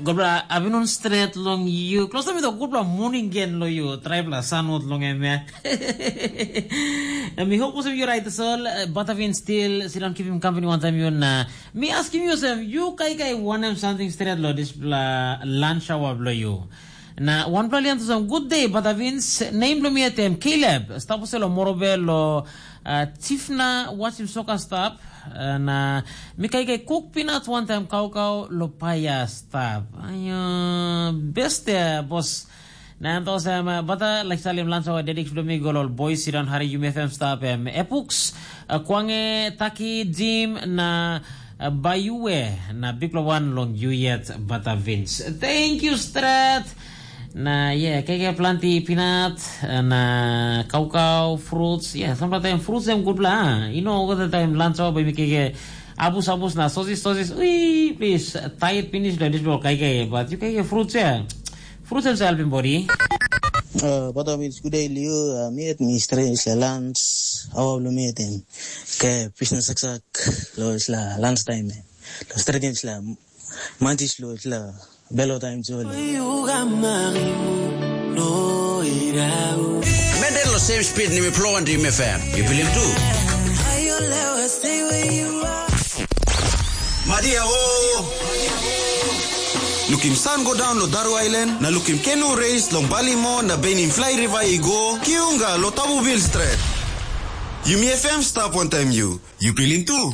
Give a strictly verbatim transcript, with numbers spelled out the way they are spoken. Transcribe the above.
Gobra abinun stret long you. Close to me the good morning again lo you. Tribe la sanot long em ya. Mi hope usem you right soul. But I've been still sit down keep him company one time you na. Mi asking you sem you kai kai wanem something stret lo this bla lunch hour lo you. Na wanpela lian to some good day, but I've been name lo me at them Caleb. Stop uselo morobe lo uh, Tifna watching soccer stop. Na mi kaikai kuk pinat wantaim kaukau lo paia stap. Ayo, beste bos. Na em tos em bata like salim lansa wa dedik sudah mi golol boys sidon hari Yumi F M stap em epuks kuange taki dim na bayue na bikla wan long you yet bata Vince. Thank you strat. Na yeah, keke planti pinat na kaukau fruits. Yeah, sampla taim fruits em gutpela. You know, all the time lunch hour baby keke abus abus na sosis sosis. Ui, please, tired finish lo this bro keke, but you keke fruits yeah. Fruits em helping body. Uh, but I mean, good day, Leo. Uh, me at me straight is the lunch. How will me at him? Okay, business exact. Lo is la lunch time. Lo straight is la mantis lo is la Belo time jole. Menden lo same speed ni mi plowan di mefam. You believe too? Madia o. Lukim sun go down lo Daru Island, na lukim kenu race long Balimo na benim fly river i go, kiunga lo Tabu Bill Strait. Yumi F M stop one time you. You feeling too?